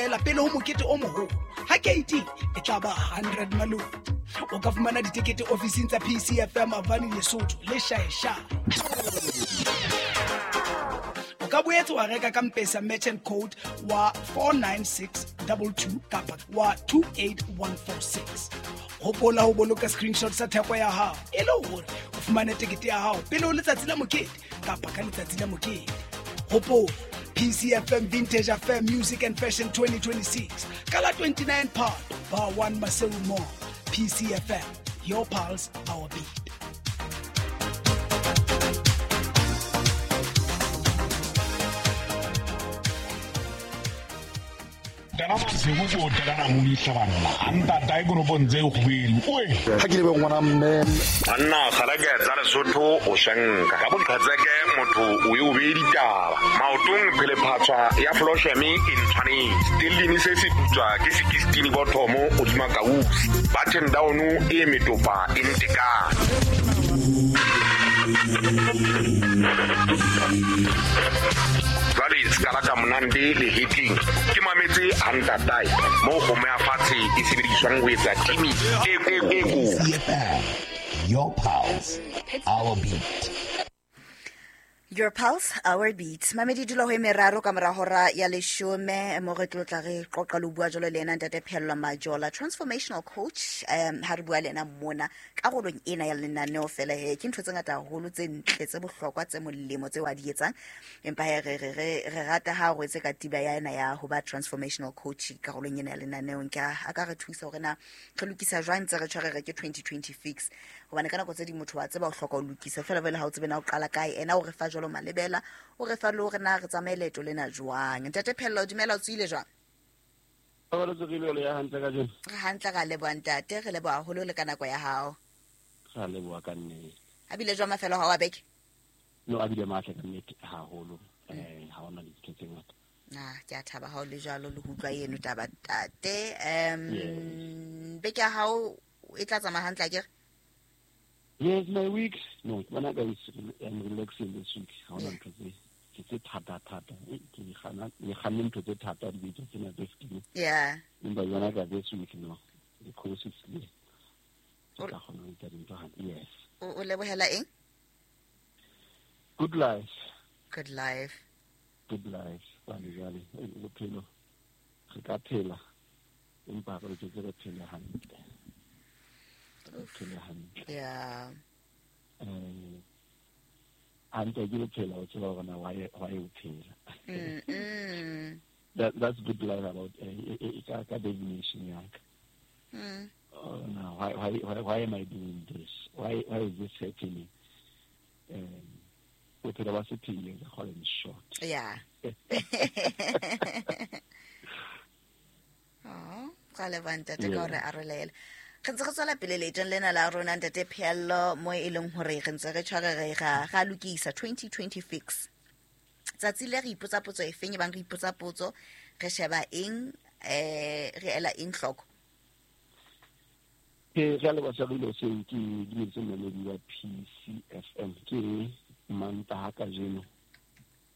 feela pele ho mokete o moholo. Ha keiting e tla ba 100 malome. O ka fumana ditekete ofising tsa PCFM Avani Lesotho le Shaeshae. O ka boetse wa reka ka Mpesa merchant code wa 49622 kapa wa 28146. Hopola ho boloka screenshot sa theko ya hao e le hore o fumane tekete ya hao pele ho letsatsi la mokete kapa ka letsatsi la mokete. Hopola PCFM Vintage Affair Music and Fashion 2026 ka la 29 Phato Bar 1 Maseru Mall. PCFM, your pulse, our beat. Ha ke lebe ngwana mme Banna kgalake tsa Lesotho o shanka ka boqhetseke motho o ye o beye ditaba maotong phelephatswa ya flosheme e ntshwanetse stellini se se putswa ke sekistini bothomo hodima kausi button down e metopa e ntekane. Jwale sekala ka monande le hetleng ke mametse hantatae moo kgomo ya fatshe e sebediswang ho etsa timi e e PCFM, your pulse, our beat. Your pulse, our beat. Mamedi dula ho e meraro ka mora hora ya leshome mo re tlo tla re qoqa le ho bua jwalo le ena ntate Phehello Majola, transformational coach. Ha re bua le ena mona karolong ena ya lenaneo fela he ke ntho tse ngata haholo tse ntle tse bohlokwa tse molemo tseo a di etsang, empa he re re re re rata ha re etse katiba ya ena ya ho ba transformational coach karolong ena ya lenaneo. Nka a ka re thusa hore na re lokisa jwang tse re tshware re ke 2026, hobane ka nako tse ding motho wa tseba o hloka ho lokisa fela jwale ha o tsebe na o qala kae. Ena o re fa jwalo malebela, o re fa le hore na re tsamaye leeto lena jwang. Ntate Phehello, dumela, o tswile jwang? Re tsogile le ya hantle kajeno. Re hantle, ra leboha ntate, re leboha haholo le ka nako ya hao. Ra leboha ka nnete. A bile jwang mafelo ha wa beke? No, a bile matle ka nnete haholo. Ha hona dintho tse ngata. Ah, ke a thaba ha o le jwalo le ho utlwa eno taba ntate. Beke ya hao e tla tsamaya hantle akere? Yes, my week. No, ke bona ka I'm relaxing this week. Ha hona ntho tse thata thata. Ke di kganne ntho tse thata dibeke tsena tse fetileng. Yeah. Empa jwana ka this week no. The course is clear. Ke tla kgona ho etsa dintho hantle. Yes. O lebohela eng? Good life. Good life. Good life. Jwale jwale bophelo re ka phela empa re loketse re phele hantle. Re phele hantle. Yeah. Hantle ke bophelo, o tseba hore na why o phela. That's good life about ka definition ya ka. Oh, no, why am I doing this? Why is this happening? Bophelo ba sephiri ka call it short. Yeah. Oh, ka leboha ntate ka hore arolela. Re ntse re tswela pele leetong lena la rona ntate Phehello, mo e leng hore re ntse re tshware re ga lokisa 2026. Tsatsi le re ipotsa potso e feng, e bang re ipotsa potso, re sheba eng, re ela eng hloko? Ke re leboha Shabile seo ke dumetse mmamedi wa PCFM ke Mantaha kajeno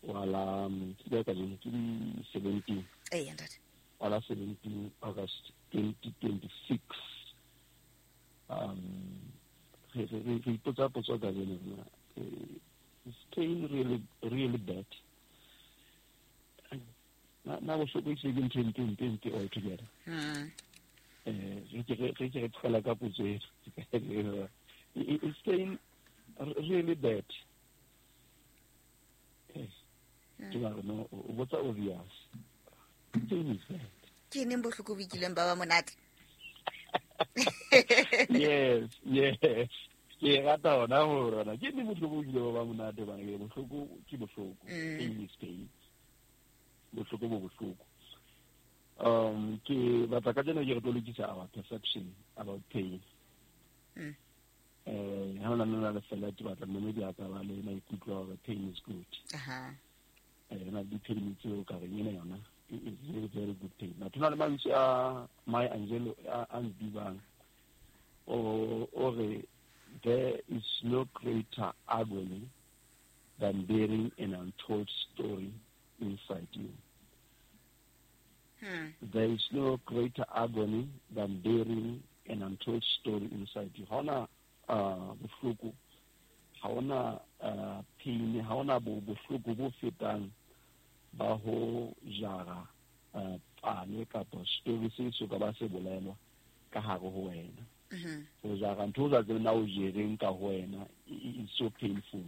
wala ke kajeno ke 17. Eh, ntate. Wala 17 August 2026. Re ipotsa potso kajeno na is pain really really bad? Na bohloko e se ke ntho e mpe all together. Re ke re tlola ka potso ena. Is pain really bad? Ke ba no botsa obvious. Pain is bad. Ke neng bohloko bo kileng ba ba monate? Yes, yes. Ke rata hona hore na ke neng bohloko bo kileng ba ba monate, bana ke bohloko ke bohloko. Pain is pain. Bohloko bo bohloko. Ke batla ka jeno ke re tlo lokisa our perception about pain. Ha hona nna le fela ke batla mmamedi a ka ba le maikutlo a hore pain is good. Aha. Na di pain tseo ka reng ena yona is very very good pain. Batho na le mantswe a Maya Angelou a ntibang o re there is no greater agony than bearing an untold story inside you. There is no greater agony than bearing an untold story inside you. Ha ona bohloko, ha ona pain, ha ona bohloko bo fetang ba ho jara pale kapa story se so ka ba se bolelwa ka hare ho wena. Ho jara ntho tsa tsena o jereng ka ho wena is so painful.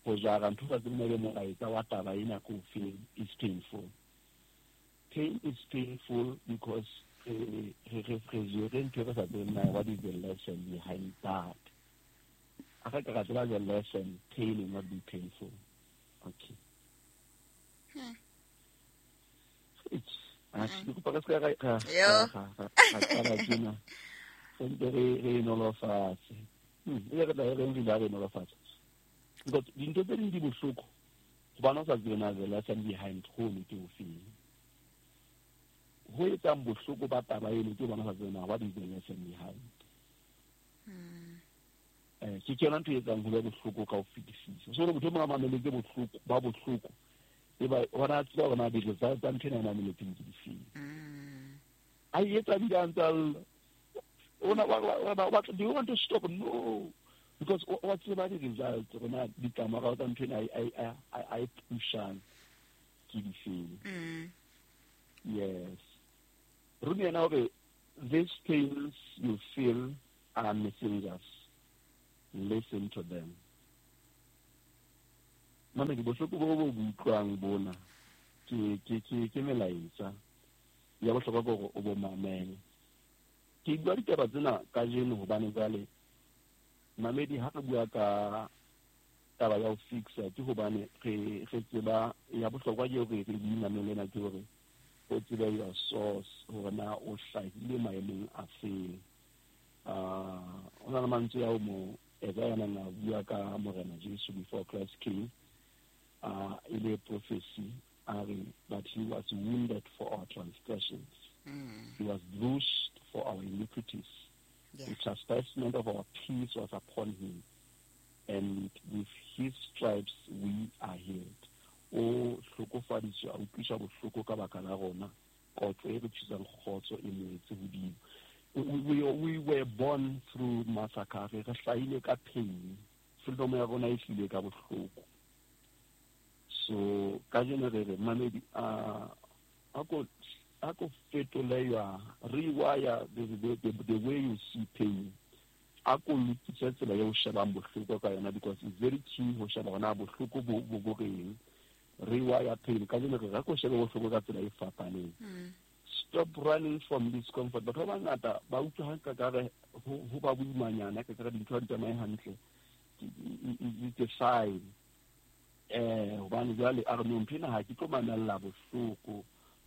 Ho jara ntho tsa tsena le molaetsa wa taba ena ko feng is painful. Pain is painful because what is the lesson behind that? I think the lesson, pain will not be painful. Okay. It's because the lesson behind home to feel. Ho etsang bohloko ba taba eno ke bona sa tsena what is the lesson behind. Ke yona ntho e etsang ho be bohloko ka ho fetisisa. So motho o mong a mameletse bohloko ba bohloko e ba ona tseba hore na di-results tsa ntho ena e mameletseng ke difeng. A e etsa bile a ntse a lla. Do you want to stop? No. Because wa tseba di-results rona ditlamorao tsa ntho ena a e pushang ke difeng. Yes. Rumi and I, these pains you feel are messengers. Listen to them. Mama, ke bohloko bo bo utlwang bona ke melaetsa ya bohlokwa ke hore o bo mamele. Ke bua ditaba tsena kajeno hobane jwale mamedi ha re bua ka taba ya ho fixa ke hobane re tseba ya bohlokwa ke hore re di mamele na ke hore o tsebe your source hore na o hlahile maemong a feng. O na le mantswe ao mo Isaiah a bua ka Morena Jesu before Christ came, e le prophecy a re, but he was wounded for our transgressions. He was bruised for our iniquities. Yeah. The chastisement of our peace was upon him, and with his stripes we are healed. O hlokofaditswe a utlwiswa bohloko ka baka la rona, kotlo e re tlisang kgotso e moetse hodimo. We were born through massacre. Re hlahile ka pain. Freedom ya rona e tlile ka bohloko. So kajeno re re mamedi a ko fetole ya rewire the way you see pain. A ko lokise tsela ya ho shebang bohloko ka yona, because it's very key ho sheba hona bohloko bo reng. Rewire pain. Kajeno re ko shebe bohloko ka tsela e fapaneng. Stop running from discomfort. Batho ba bangata ba utlwa ha ka re ho ba boimanyana ka re dintho ha di tsamaye hantle. It's a sign. Hobane jwale a re no ntho ena ha ke tlo mamella bohloko.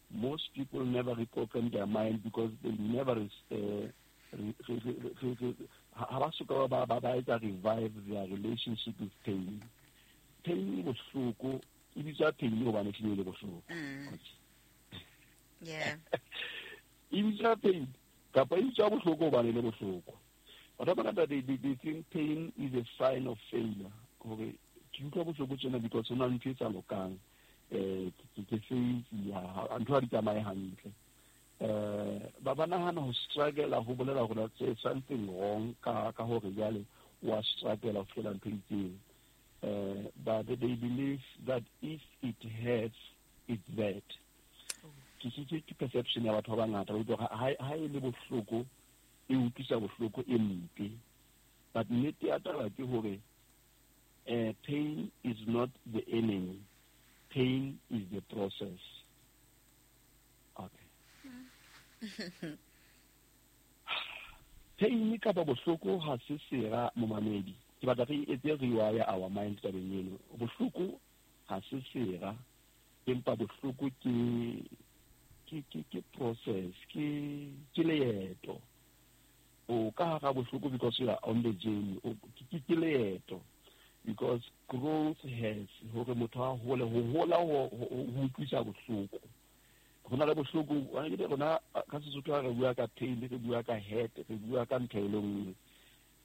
Most people never reprogram their mind because they never ha ba soka ba etsa revive their relationship with pain. Pain e bohloko, e bitswa pain hobane e le bohloko. Yeah. E bitswa pain kapa e bitswa bohloko hobane le bohloko. Batho ba bangata they think pain is a sign of failure. Hore ke utlwa bohloko tjena because ho na le ntho e sa lokang. Ke failure, ntho ha di tsamaye hantle. Ba ba nahana ho struggle ho bolela hore there's something wrong ka hore jwale wa struggle ho fihlela ntho e itseng. But they believe that if it hurts, it's bad. Ke perception ya batho ba bangata ba utlwa ha e le bohloko e utlwisa bohloko e mpe. But nnete ya taba ke hore pain is not the enemy. Pain is the process. Okay. Pain kapa bohloko ha se sera momamedi. Ke batla re etse rewire our mind tabeng eno. Bohloko ha se sera, empa bohloko ke process, ke leeto. O ka hara bohloko because you are on the journey. Ke leeto. Because growth has hore motho a hole ho hola ho utlwisa bohloko. Ho na le bohloko, wa ke rona ka Sesotho ha re bua ka pain, re bua ka hurt, re bua ka ntho e le nngwe.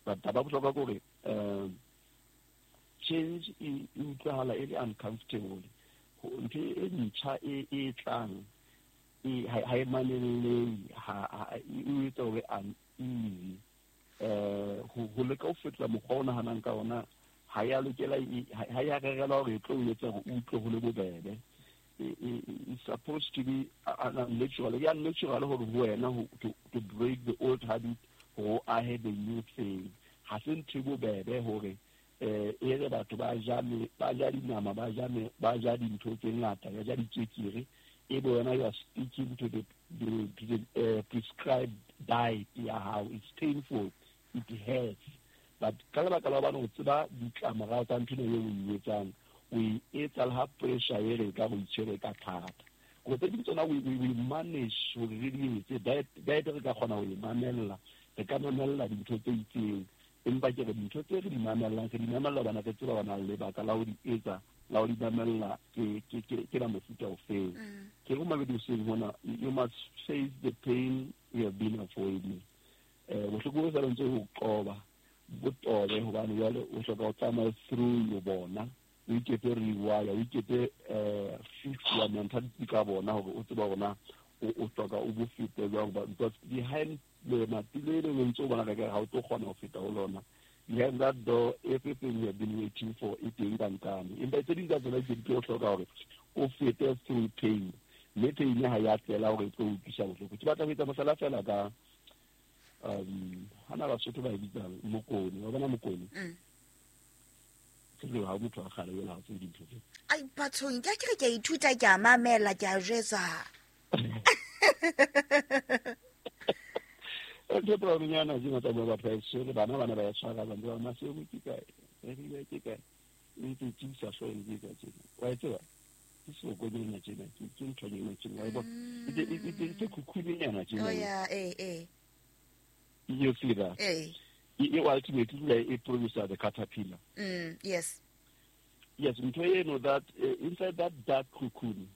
But taba bohlokwa ke hore change e utlwahala e le uncomfortable. Ntho e ntjha e tlang Ha e mamelle, ha e etsa hore uneasy. Ho leka ho fetola mokgwa o nahanang ka ona, ha ya lokela, ha ya rerelwa hore e tlo o etsa hore o utlwe ho le bobebe. It's supposed to be unnatural. E unnatural hore ho wena to break the old habit, hore o ahe the new thing. Ha se ntho e bobebe hore e re batho ba ja dinama, ba ja dintho tse ngata, ba ja ditswekere, e be wena you are sticking to the prescribed diet ya hao. It's painful, it hurts, but ka lebaka la hobane o tseba ditlamorao tsa ntho eo o e etsang, o e etsa le ha pressure e re ka go itshwere ka thata. Go tse ding tsona we manage hore re di etse. Diet re ka kgona ho e mamella, re ka mamella dintho tse itseng, empa ke re dintho tse re di mamellang, re di mamella hobane re tseba hore lebaka la ho di etsa, la ho di mamella ke la mofuta ofeng. Ke re mamedi hoseng hona, you must face the pain you have been avoiding. Bohloko bo sa ntse ho qoba, bo tobe, hobane jwale o hloka ho tsamaya through yo bona, o iketse rewire, o iketse fix ya mentality ka bona hore o tseba hore o hloka o bo fete jwang, because behind lemati le le ntse o bona ka ha o tlo kgona ho feta ho lona. Behind that door, everything you have been waiting for e teng ka nkane. Empa tse ding tsa tsona ke di tlo hloka hore o fete through pain, mme pain ha ya tlela hore e tlo utlwisa bohloko. Ke batla ho etsa mohlala fela ka hana Basotho ba e bitsang mokone. Wa bona mokone? Ke le ha motho a kgale jwale ha o tsebe dintho tse. Ai bathong, ke a ke re ke a ithuta, ke a mamela, ke a jwetsa. Ntho e brown-nyana tjena tsa bua batho ba e tshwere, bana ba e tshwara, ba ntse ba re, Maseru ke kae? Rerilwe ke kae? E ntse e tiisa hlooho e ntse e etsa tjena. Wa e tseba? Ke sebokonyana tjena, ke nthonyana tjena, wa e bona? E khukhunyenyana tjena. Oh, yeah, eh. You see that? Eh. E ultimately e produce the caterpillar. Yes. Yes, ntho eno that inside that dark cocoon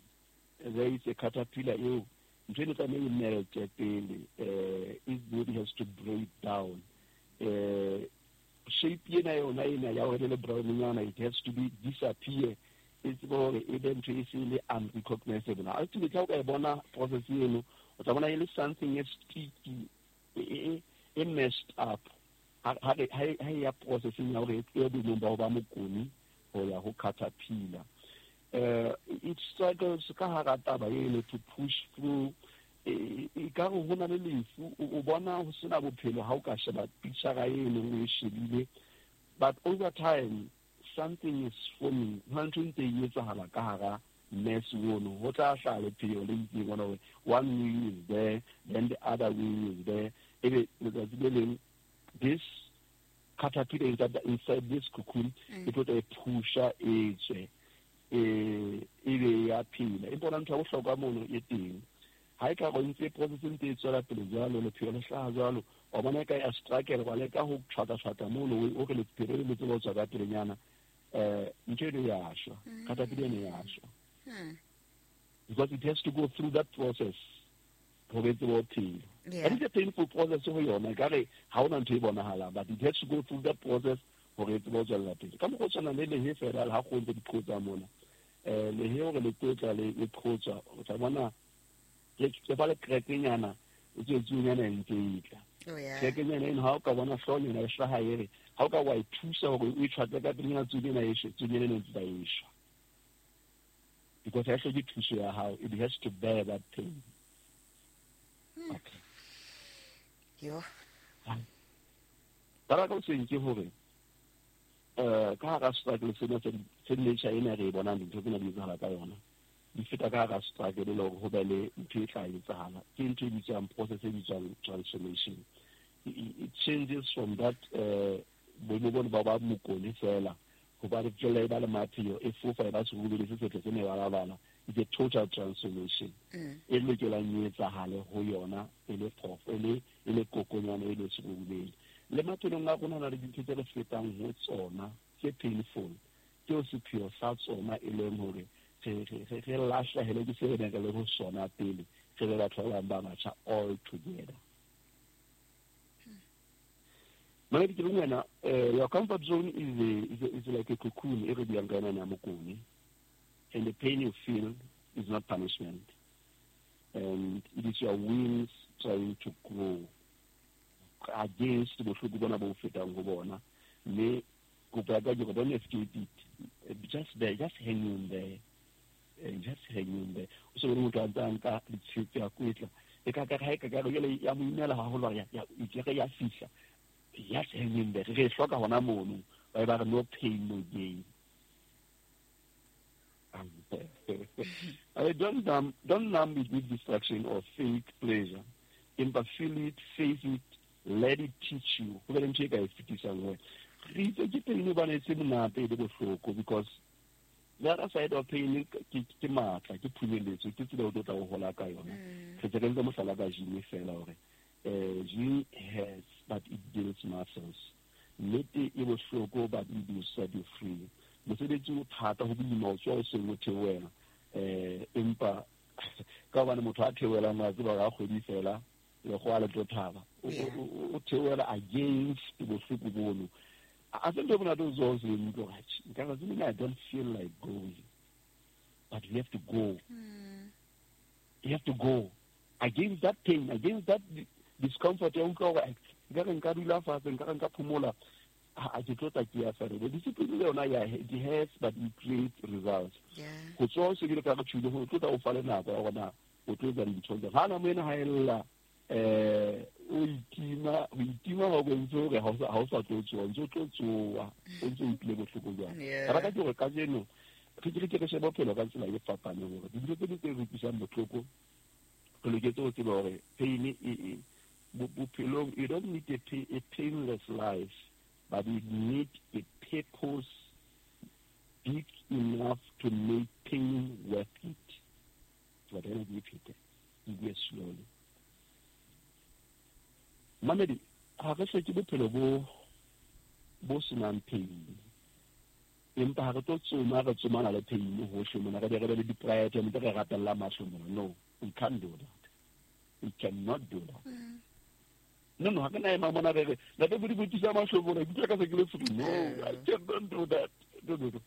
there is a caterpillar eo ntho eno tlameha e melte pele, its body has to break down. Shape ena yona ena ya hore le brown nyana, it has to be disappear. E tsebe hore e be ntho e se le unrecognizable. Ultimately ha o ka e bona process eno, o tla bona e le something e sticky, e messed up. Ha e ya processing ya hore e tlohe boemong ba ho ba mokone ho ya ho caterpillar. It struggles ka hara taba eno to push through. E ka re ho na le lefu, o bona ho sena bophelo ha o ka sheba picture eno o e shebile, but over time something is forming. Ho na ntho e ntse e etsahala ka hara mess ono, ho tla hlaha lepheo le itseng ona hore one wing is there, then the other wing is there. Ebe letsatsi le leng this caterpillar inside this cocoon e tlo tla e pusha e tswe, e be ya phela. Empa hona ntho ya bohlokwa mono e teng, ha e ka re ntse process e ntse e tswela pele jwalo, lepheo le hlaha jwalo, wa bona e ka ya struggle, wa leka ho tshwata-tshwata mono, o re lepheo le tsebe ho tswa ka pelenyana, ntho eno ya shwa, caterpillar eno ya shwa. Because it has to go through that process hore e tsebe ho phela. And it's a painful process ho yona, ekare ha hona ntho e bonahalang, but it has to go through that process hore e tsebe ho tswella pele. Ka mokgwa o tshwanang le lehe fela, ha kgoho ntse di qhotsa mona, lehe hore le tlotla le qhotswa, o tla bona ke ba le krekenyana, e tswetsunyana e ntse e tla. Oh, yeah. Krekenyana eno ha o ka bona hloohonyana e hlaha e re, ha o ka wa e thusa hore o e tshwatle ka pelenyana, tsunyana e shwe, tsunyana eno e ntse e shwa. Because ha e hloke thuso ya hao, it has to bear that pain. Okay. Yo. Taba ka hoseng ke hore, ka hara struggle sena se nature ena re e bonang dintho tsena di etsahala ka yona, di feta ka hara struggle le hore ho be le ntho e tla etsahala. Ke ntho e bitswang process e bitswang transformation. It changes from that boemo bona ba ba mokone fela, ho ba re tswella e ba le mapheo, e fofa e ba serubele se setle se mebalabala. It's a total transformation. E lokelang e etsahale ho yona e le phoofo, e le kokonyana, e le serubele. Le maphelong a rona na le dintho tse re fetang ho tsona tse painful, tseo sepheo sa tsona e leng hore re lahlehele ke se re neng re le ho sona pele, re be batho ba bang ba batjha all together. Mamedi, ke re wena, your comfort zone is like a cocoon e re buang ka yona ya mokone, and the pain you feel is not punishment. And it is your wings trying to grow against bohloko bona bo fetang ho bona. Mme kopo ya ka ke don't escape it. Just there, just hang in there. Just hang in there. O se bone motho a ntse a nka ditshepe a kwetla. E ka ka ha e ka ka jwale ya mo imela haholo ya ya ya fihla. Just hang in there. Re hloka hona mono. Ba ba re no pain no gain. I don't numb it with distraction or fake pleasure. Empa feel it, face it, let it teach you. Ho be le ntho e ka e fetisang ho wena. Re itse ke pain hobane e se monate e le bohloko, because the other side of pain ke matla, ke phunyeletso, ke tsela o tlo tla o hola ka yona. Re tse re ntse mohlala ka gym fela hore gym hurts but it builds muscles. Nnete e bohloko but it will set you free. Mosebetsi o thata ho boima o tswa o seng o theohela, empa ka hobane motho a theohelang wa tseba hore ha kgwedi fela lekgowa le tlo thaba, o theohela against bohloko bono. A se ntho e monate o tswa o seng utlwe hore atjhe, nka re tsebeng, I don't feel like going, but you have to go. You have to go against that pain, against that discomfort ya utlwa hore nka re nka dula fatshe, nka re nka phomola, ha ke tlo tla ke ya fela. Discipline le yona ya it hurts but it creates results. Ho tswa o se ke ka re tjhule ho tlo tla o fa le nako ya hore na o tlo etsa dintho jwang. Ha na moena ha ella, o itima, o itima ho bontshe hore ha o sa tlo tsoha, o ntso tlo tsoha, o ntso utlwile bohloko jwang. Taba ka ke hore kajeno re ke re ke re shebe bophelo ka tsela e fapaneng, hore dintho tse ding tse re utlwisang bohloko re loketse ho tseba hore pain e bophelong, you don't need a painless life, but you need a purpose big enough to make pain worth it. Ke batla ke iphete, ke bue slowly. Mamedi, ha re hloke bophelo bo senang pain, empa ha re tlo tsoma, re tsomana le pain hohle mona, re be re be le di-pride, ntse re rapella mahlo mona. No, we can't do that. We cannot do that. No, ha ke na ema mona re re, ntate Modimo, thusa mahlo mona, ke utlwa ka se ke le free. No, I cannot do that. No, no, no.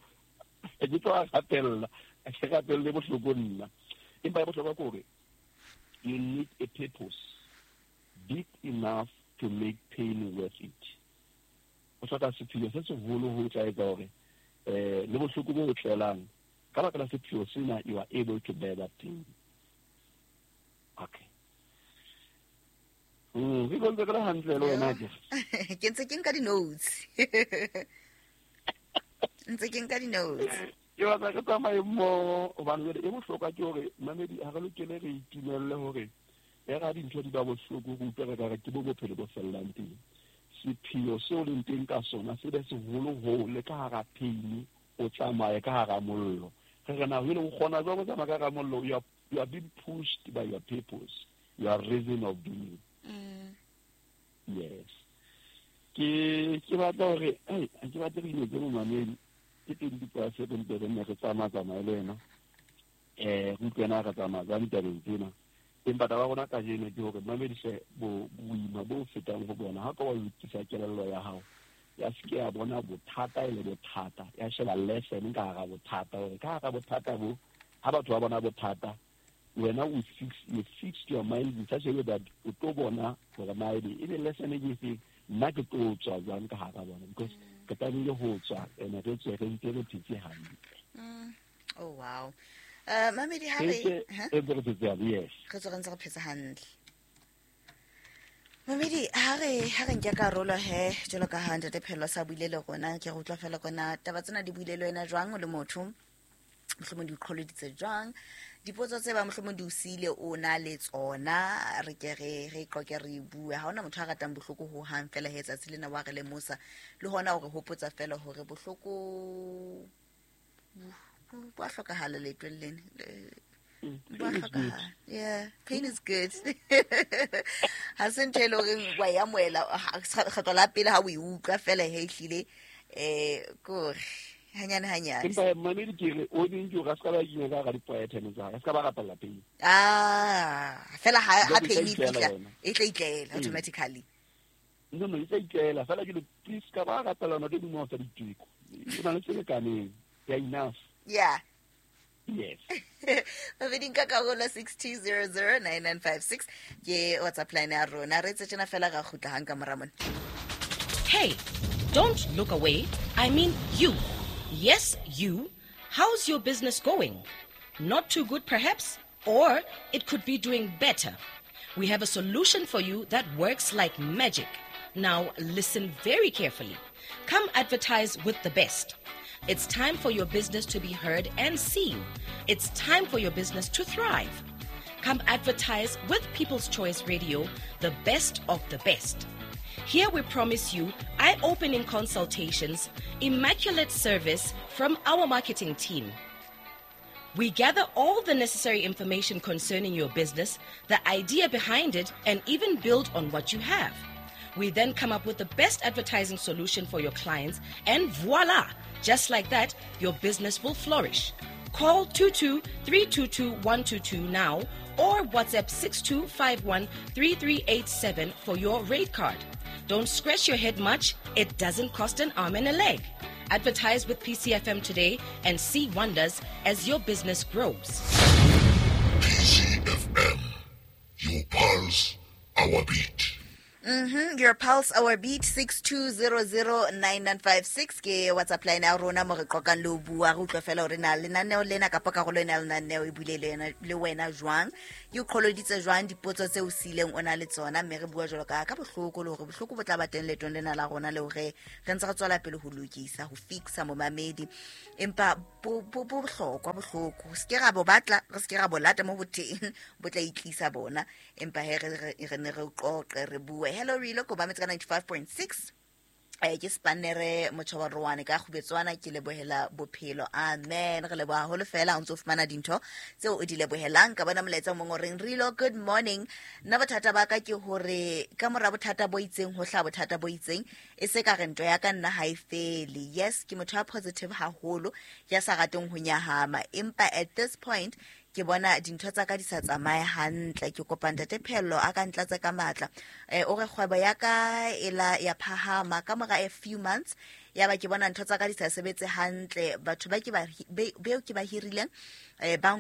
Ke tlo a rapella, ke rapelle bohloko nna. Empa ya bohlokwa ke hore you need a purpose big enough to make pain worth it. O hloka sepheo se seholo ho tla etsa hore le bohloko bo tlelang ka baka la sepheo sena, you are able to bear that pain. Okay. Re go ntse re le hantle le wena ke. Ke ntse ke nka di-notes. Ntse ke nka di-notes. Ke batla re tsamaye mmoho, hobane jwale e bohlokwa ke hore mamedi ha re lokele re itumelle hore e ra dintho di ba bohloko, re utlwe re ka re ke bo bophelo bo fellang teng. Sepheo seo leng teng ka sona se be seholo hoo le ka hara pain o tsamaye ka hara mollo. Re re na ho ile o kgona jwang ho tsamaya ka hara mollo? You are being pushed by your purpose, your reason of being. Yes. Ke batla hore, ai, ke batla re inetse momamedi. Ke 27 re nne re tsamaya le ena. Re utlwe na re tsamaya jwang ditabeng tsena. Empa taba ya rona kajeno ke hore mamedi hle boima bo fetang ho bona. Ha ka wa lokisa kelello ya hao, ya se ke ya bona bothata e le bothata, ya sheba lesson ka hara bothata, hore ka hara bothata bo, ha batho ba bona bothata, wena o fix, you fixed your mind in such a way that o tlo bona hore na ebe e be lesson e ke efeng, nna ke tlo tswa jwang ka hara bona, because re tlamehile ho tswa, ene re tswe re ntse re phetse hantle. Oh, wow. Mamedi ha re, Re ntse re phetse hantle, yes. Re tswe re ntse re phetse hantle. Mamedi, ha re nke karolo he, jwalo ka ha Ntate Phehello sa buile le rona, ke re utlwa fela kona taba tsena di buile le wena jwang o le motho, mohlomong di o qholoditse jwang, dipotso tse ba mohlomong di o siile o na le tsona, re ke re qoke re bue. Ha hona motho a ratang bohloko ho hang fela he tsatsi lena wa re lemosa, le hona o re hopotsa fela hore bohloko bo a hlokahala leetong lena. Bo a hlokahala. Yeah, pain is good. Ha se ntho e leng horeng wa e amohela, kgetlo la pele ha o e utlwa fela he ehlile, ke hore hanyane hanyane. Empa mamedi ke re, o ding ke hore a se ka ba kenya ka hara di-prayer tsa hae, a se ka ba rapella pain. Fela ha Jwale e tla pain e itlela fihla, yona. e tla itlela automatically. No, no, e tla itlela. Fela ke le, please, ka ba rapella yona, ke dimo tsa diteko. E na le tse lekaneng. They are enough. Yeah. Yes. Babedi nka karolo 62009956 ke WhatsApp line ya rona. Re etse tjena fela ra kgutla hang ka mora mona. Hey, don't look away. I mean you. Yes, you. How's your business going? Not too good perhaps, or it could be doing better. We have a solution for you that works like magic. Now listen very carefully. Come advertise with the best. It's time for your business to be heard and seen. It's time for your business to thrive. Come advertise with People's Choice Radio, the best of the best. Here we promise you eye-opening consultations, immaculate service from our marketing team. We gather all the necessary information concerning your business, the idea behind it, and even build on what you have. We then come up with the best advertising solution for your clients, and voila! Just like that, your business will flourish. Call 22-322-122 now or WhatsApp 6251-3387 for your rate card. Don't scratch your head much. It doesn't cost an arm and a leg. Advertise with PCFM today and see wonders as your business grows. PCFM, your pulse, our beat. Your pulse, our beat, 62009956 ke WhatsApp line ya rona mo re qoqang le ho bua, re utlwe fela hore na lenaneo lena kapa karolo ena ya lenaneo e buile le wena jwang, ke o qholoditse jwang dipotso tse o siileng o na le tsona, mme re bua jwalo ka bohloko le hore bohloko bo tla ba teng leetong lena la rona le hore re ntse re tswela pele ho lokisa, ho fixa momamedi, empa bo bohlokwa bohloko, se ke ra bo batla, re se ke ra bo lata mo boteng, bo tla itlisa bona, empa he re ne re qoqe re bue. Hello Rilo, ko ba metse ka 95.6. Ke spanere motjhabarwane ka kgubetswana, ke lebohela bophelo. Amen. Re leboha haholo fela ha o ntso fumana dintho tseo o di lebohelang. Ka bona molaetsa o mong o reng, Rilo, good morning. Nna bothata ba ka ke hore ka mora bothata bo itseng ho hlaha bothata bo itseng, e se ka re ntwa ya ka nna ha e fele. Yes, ke motho ya positive haholo, ya sa rateng ho nyahama, empa at this point ke bona dintho tsa ka di sa tsamaye hantle. Ke kopa ntate Phello a ka ntlatse ka matla. O re kgwebo ya ka e la ya phahama ka mora a few months, ya ba ke bona ntho tsa ka di sa sebetse hantle. Batho ba ke ba beo ke ba hirileng ba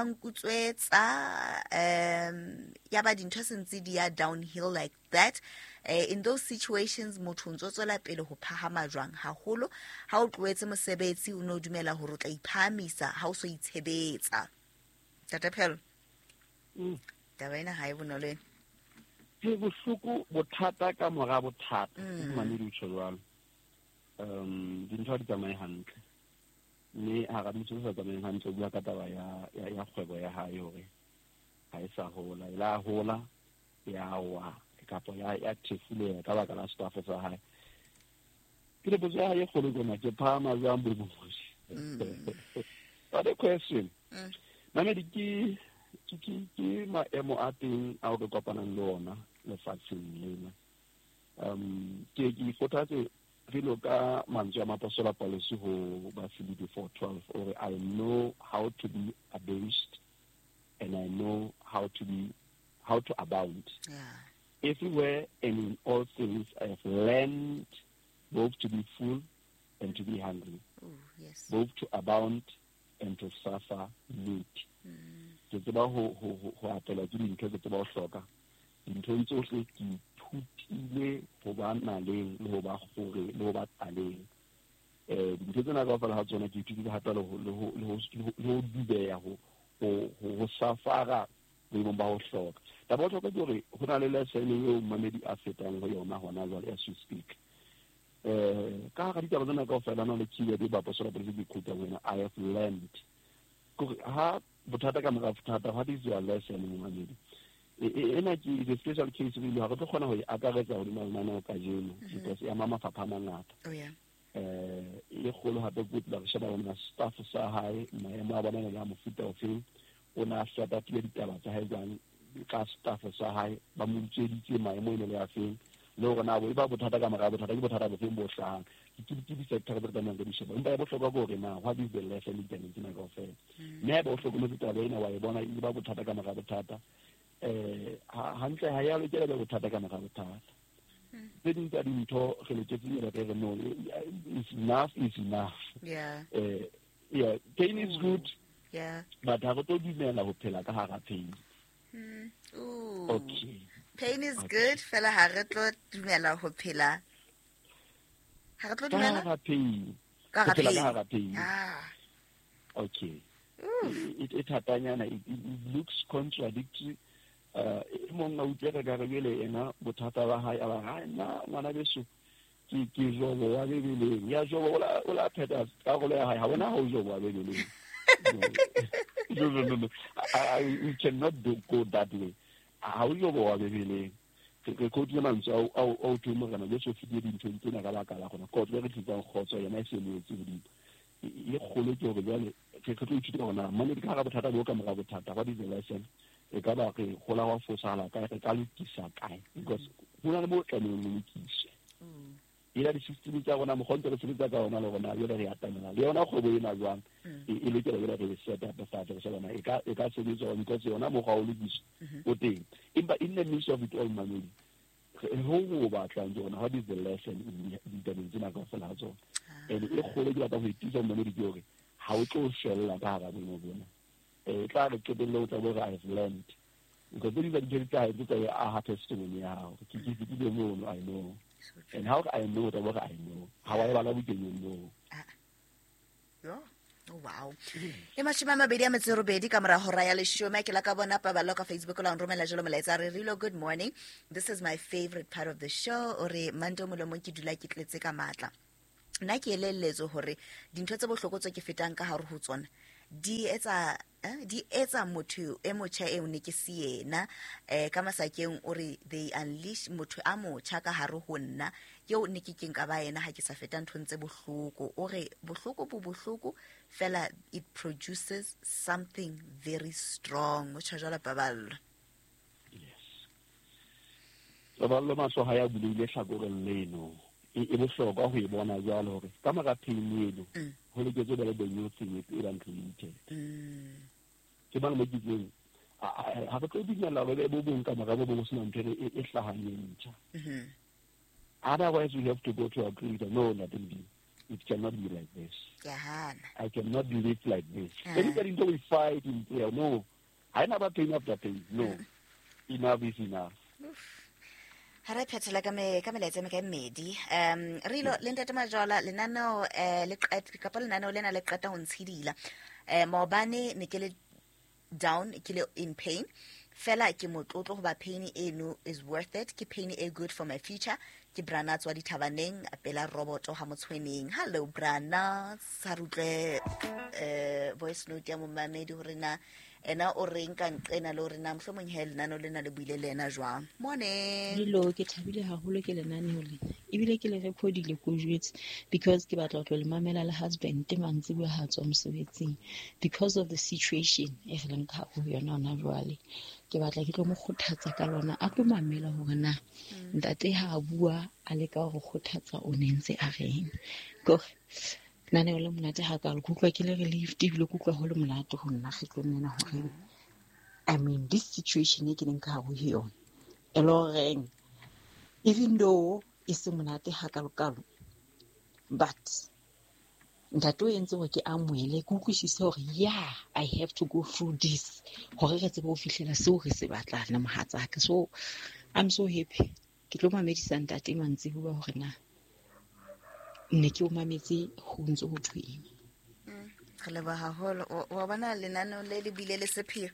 nkutswetsa, ya ba dintho sentse di ya downhill like that. In those situations motho o ntso tswela pele ho phahama jwang haholo ha o tlohetse mosebetsi, o no dumela hore o tla iphahamisa ha o so itshebetsa. Tata Phello, taba ena ha e bonolo ena. Ke bohloko bothata ka mora bothata, mamedi o tjho jwalo. Dintho ha di tsamaye hantle, mme hara dintho tse sa tsamayeng hantle o bua ka taba ya kgwebo ya hae hore ha e sa hola, e la hola ya wa kapa ya thefuleha ka baka la staff sa hae. Ke le potso ya hae e kgolo ke ona, ke phahama jwang boemong? What a question. Mamedi, ke maemo a teng ao re kopanang le ona lefatsheng lena. Ke ikgothatse re ka mantswe a Moapostola Paulus ho Bafilipi 4:12, ore I know how to be abased and I know how to abound. Yeah. Everywhere and in all things I have learned both to be full and to be hungry. Ooh, yes. Both to abound and to suffer need. Ke tseba ho atela ke dintho, ke tseba ho hloka dinthong tsohle, ke ithutile ho ba naleng le ho ba kgore le ho ba tlaleng. Dintho tsena kaofela ha tsona ke ithutile hape le ho dubeha, ho safara boemong ba ho hloka. Taba ya bohlokwa ke hore ho na le lesson eo mmamedi a fetang ho yona hona jwale as we speak. Ka hara ditaba tsena kaofela na le keyword e Baapostola Paulus ke quote wena, I have learned. Kore ha bothata ka mora bothata, what is your lesson momamedi? Ena ke the special case really, ha re tlo kgona ho e akaretsa hodima lenaneo kajeno because e ama mafapha a mangata. Oh yeah. E kgolo hape ke tla re sheba bona staff sa hae, maemo a bona le a mofuta ofeng, o na set-upile ditaba tsa hae jwang ka staff sa hae, ba mo utsweditse maemo ene le a feng, le hore na bo e ba bothata ka mora bothata, ke bothata bofeng bo hlahang. Ke di-sector tse re tlamehang re di sheba. Empa ya bohlokwa ke hore na what is the lesson ditabeng tsena kaofela. Mme haeba o hlokometse taba ena, wa e bona e ba bothata ka mora bothata, hantle ha ya lokela be bothata ka mora bothata. Tse ding tsa dintho re loketse re re no, is enough is enough. Yeah. Yeah, pain is good, Yeah. But ha re tlo dumela ho phela ka hara pain. Okay. Pain is good, fela ha re tlo dumela ho phela. Ha re tlo dumela? Ka hara pain. Ka hara pain. Ah. Okay. It hatanyana, it looks contradictory. E mong a utlwe ka re jwale ena bothata ba hae a ba ha nna ngwana beso ke Jobo wa Bebeleng. Ya Jobo o la pheta karolo ya hae, ha bona ha o Jobo wa Bebeleng. No. We cannot go that way. Ha o Jobo wa Bebeleng. Re quote mantswe ao thwe morena Jesu o fetile dinthong tsena ka baka la gona kotlo e re tlisang kgotso yena e se moetse godimo. E kgolo ke hore jwale re tlo ithuta hore na mane ka hara bothata bo ka mora bothata, what is the lesson? E ka ba re gola wa fosala kae, re ka lokisa kae? Because ho na le mo tlamehileng ho lokiswe. Ela di-system tsa rona mokgwa ntse re sebetsa ka ona le rona jwale re atamela le yona kgwebo ena jwang e lokela jwale re set up fatshe re sheba e ka sebetswa because yona mokgwa o lokiswa o teng. Empa in the midst of it all, mamedi, ho o batlang ke yona, what is the lesson in ditabeng tsena kaofela ha tsona? And e kgolo ke batla ho itisa mamedi ke hore ha o tlo shwella ka hara boemo bona. E tla re qetelle o tla bo re I've learned. Because tse ding tsa dintho di tla tse tsa aha testimony ya hao. Ke fetile mono, I know. And how I know what I know. How I bala bukeng no. Oh, wow. E 28 ka mora hora ya 10 ke la ka bona Paballo ka Facebook la nromela jalo molaetsa re Rilo, good morning. This is my favorite part of the show. O re manto molomong ke dula ke tletse ka matla. Nna ke elelletso hore dintho tse bohloko tse ke fetang ka hare ho tsona di etsa motho e motjha eo ne ke se yena. Ka masakeng o re they unleash motho a motjha ka hare ho nna eo ne ke keng ka ba yena ha ke sa feta nthong tse bohloko. O re bohloko bo bohloko fela it produces something very strong. O tjha jwalo Paballo. Yes. Paballo mahlo ha ya buleile hlakoreng leno. E bohlokwa ho e bona jwalo hore ka mora pain eno ho loketse ba le the new thing e bang created. Ke bana mo kitseng ha re tlo dumela hore bo bong ka mora bo bong sena ntho e hlahang e ntjha. Otherwise we have to go to agree that no, nothing, it cannot be like this. I cannot live like this. Everybody know we fight in prayer. No, I never pain after pain. No, enough is enough. Ha re phethela ka melaetsa me ka mmedi. Rilo le ntate Majola lenaneo le qeta kapa lenaneo lena le qeta ho ntshidila. Maobane ne ke le down, ke le in pain. Fela ke motlotlo hoba pain eno is worth it. Ke pain e good for my future. Ke Brana tswa dithabaneng pela roboto ha motshweneng. Hello Brana, sa rutle voice note ya momamedi hore na ena o reng ka nqena le hore na mohlomong he lenaneo lena le buile le ena jwang. Morning. Dilo ke thabile haholo ke lenaneo lena. Ebile ke le recordile ko jwetse because ke batla ho tlo le mamela le husband mantsibuya ha tswa mosebetsing because of the situation e re leng ka ho yona hona jwale. Ke batla ke tlo mo kgothatsa ka lona a tlo mamela hore na ntate ha a bua a leka ho kgothatsa o ne ntse a reng. Kore nna le monate ha ka le kutlwa ke le relieved ebile kutlwa ho le monate ho nna kgetlong lena hore I mean this situation e ke leng ka hare ho yona e le horeng even though e se monate hakalokalo but ntate o entse hore ke amohele ke utlwisise hore yeah I have to go through this hore re tsebe ho fihlela seo re se batlang le mohatsaka. So I'm so happy. Ke tlo mamedisa ntate mantsibuya hore na ne ke o mametse ho ntse ho thweng. Re leboha haholo. Wa bona lenaneo le le bile le sepheo.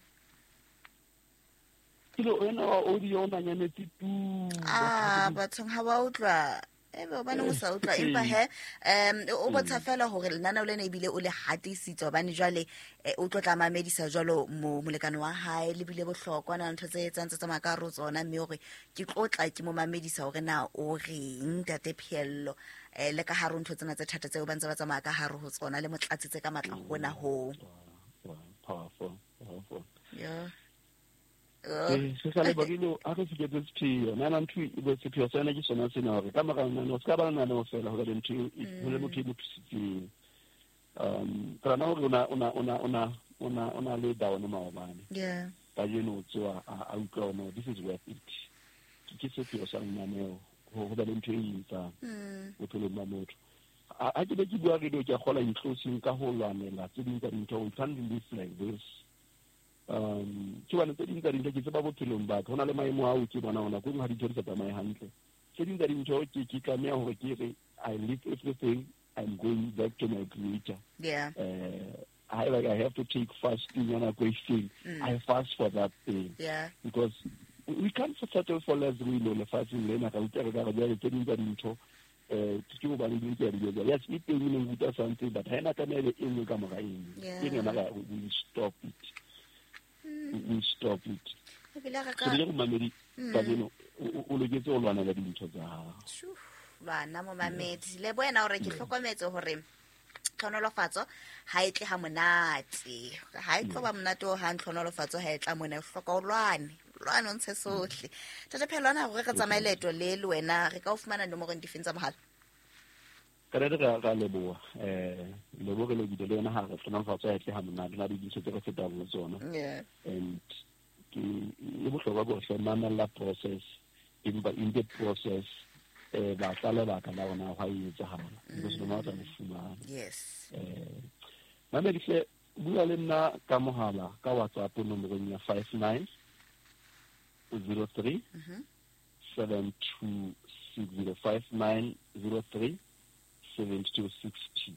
Kilo ena wa audio o nanyametse tu. Bathong ha ba utlwa. Ebe o bana o sa utlwa empa he o botsa fela hore lenaneo lena ebile o le hatisitse hobane jwale o tlo tla mamedisa jwalo molekane wa hae le bile bohlokwa na ntho tse etsang tse tsamaya ka hare tsona mme hore ke tlotla ke mo mamedisa hore na o reng ntate Pheello le ka hare ntho tsena tse thata tseo ba ntse ba tsamaya ka hare ho tsona le motlatsitse ka matla hona ho. Powerful, powerful. Yeah. Se sa le bagilo a re se ke sepheo nna ntho e bo sepheo sena ke sona sena hore ka mora nna o ska ba nna no fela hore ntho e le motho e mo thusitseng. Ka na hore ona le down maobane. Yeah. Ka jeno tsoa a utlwa no this is worth it. Ke sepheo sa nna neo ho ba le ntho e etsang bophelong ba motho. Ha ke be ke bua radio, ke a kgola in closing ka ho lwanela tse ding tsa dintho. We can't live like this. Ke bane tse ding tsa dintho ke tseba bophelong ba ka, ho na le maemo ao ke bona hona ko ha dintho di sa tsamaye hantle. Tse ding tsa dintho ke tlameha hore ke re I leave everything, I'm going back to my creator. I like I have to take fasting ya nako e itseng. I fast for that thing. Because we can't settle for less. We know lefatsheng lena ga utlwa re ka re jwale tse ding tsa dintho ke hobane di ke di etsa. Yes, e teng e neng ruta something, but ha ena tlameha e be e nngwe ka mora e nngwe. Ke yona ka we stop it, we stop it. Ebile re So ka le go mamedi kajeno, o loketse ho lwanela dintho tsa hao. Shoo, lwana momamedi le wena hore ke hlokometse hore tlhonolofatso ha e tle ha monate, ha e tlo ba monate o hang. Tlhonolofatso ha e tla mona, o hloka o lwane, lwane o ntshe sohle. Tate Phelwana, hore re tsamaye leeto le le wena, re ka o fumana nomorong difeng tsa mohala? Ka re ra leboha, lebo re lebile le yona ha re tlhonolofatso ha e tle ha monate, na le dintho tse re fetang ho tsona. And ke e bohlokwa ke hore mamella process, empa in the process batla lebaka la ona hwa e etsahala, because lona o tla le fumana. Mamedi hle, bua le nna ka mohala, ka WhatsApp nomorong ya 59 03 7260, 5903 7260,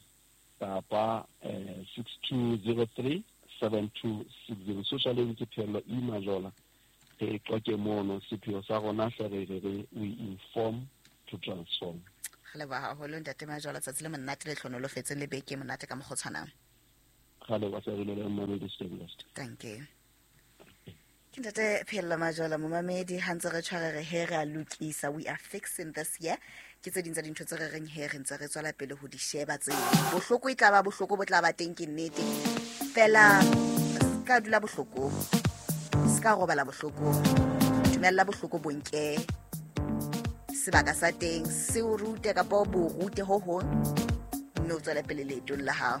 kapa 6203 7260. Social link ke Phello E Majola. Re qoke mono. Sepheo sa rona hle re we inform to transform. Re leboha haholo, ntate Majola. Tsatsi le monate le tlhonolofetseng le beke e monate ka mokgwa o tshwanang. Ga leboha sa re le mamedi, stay blessed. Thank you. Ke ntate Phello Majola, momamedi. Ha ntse re tshware re he re a lokisa, we are fixing this year. Ke tse ding tsa dintho tse re reng he re ntse re tswela pele ho di sheba. Tseo bohloko e tla ba bohloko, bo tla ba teng, ke nnete fela. Se ka dula bohlokong, se ka robala bohlokong, dumella bohloko bo nke sebaka sa teng, se o rute kapa o bo rute ho hong, mme o tswele pele leetong la hao.